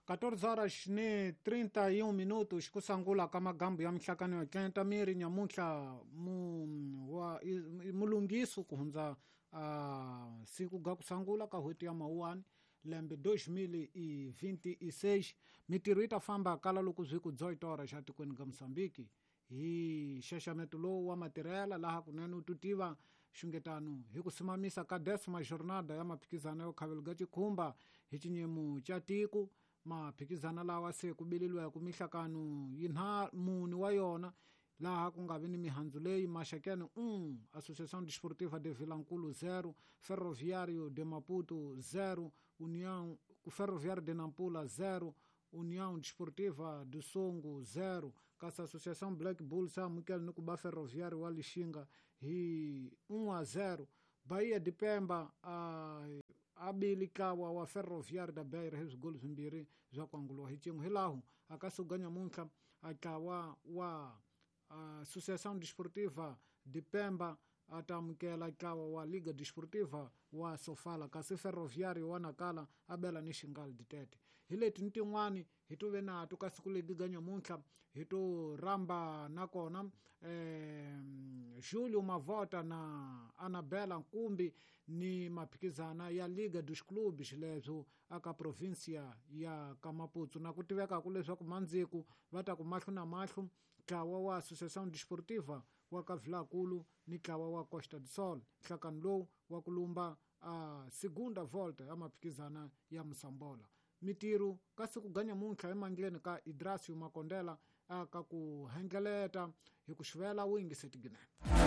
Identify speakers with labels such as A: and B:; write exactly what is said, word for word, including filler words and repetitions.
A: catorze horas ni trinta e um minutos kusangula ka magambo ya mihlakano ya tlenta miri nyamuntlha mu wa mulungiso kuhundza uh, siku ga kusangula ka hweti ya mawuwani lembe dois mil e vinte e seis mitirho yi ta famba kala loko zwi ku dezoito horas xa tikweni ga Mozambique hi xaxameto lowu wa matirhela laha kunene u tutiva xungetano hi ku simamisa ka décima jornada ya maphikizano yo khavelo ga xikhumba hi xinyemu xa tiko. Maphikizano lawa se ku bililiwa ku mihlakano yinharhu mune wa yona laha ku nga vi ni mihandzu leyi Maxakene um Associação Desportiva de Vilankulo zero, Ferroviário de Maputo zero, União Ferroviário de Nampula zero, União Desportiva do Songo zero, kasi Associação Black Bulls amukela ni ku ba Ferroviário wa Lixinga hi um a zero, Bahia de Pemba a abili kawa wa Ferroviário da Beira hi swigolo swimbirhi swa ku anguliwa hi xin'we. Hilaho a ka suka nyamuntlha a tlawa wa Associação Desportiva de Pemba a ta amukela ntlawa wa Liga Desportiva wa Sofala, kasi Ferroviário wa Nacala a bela ni Xingal Ditete. Hi leti ni tin'wani hi to ve na to ka siku legi ga nyamuntlha hi to rhamba nakona eh, Julio Mavota na Anabela Nkumbi ni maphikizana ya Liga dos Clubes leswo aka provincia ya Kamaputu, na ku tivekaku leswaku mandziku va ta ku mahlo na mahlo ntlawa wa Associação Desportiva wa ka Vilankulu ni ntlawa wa Costa do Sol, nhlakano lowu wa ku lumba a segunda volta ya maphikizana ya Mosambola. Mitirho ka siku ga nyamuntlha emandleni ka Idrasio Makondela aka ku hengeleta hi ku xivela wingi setiginene.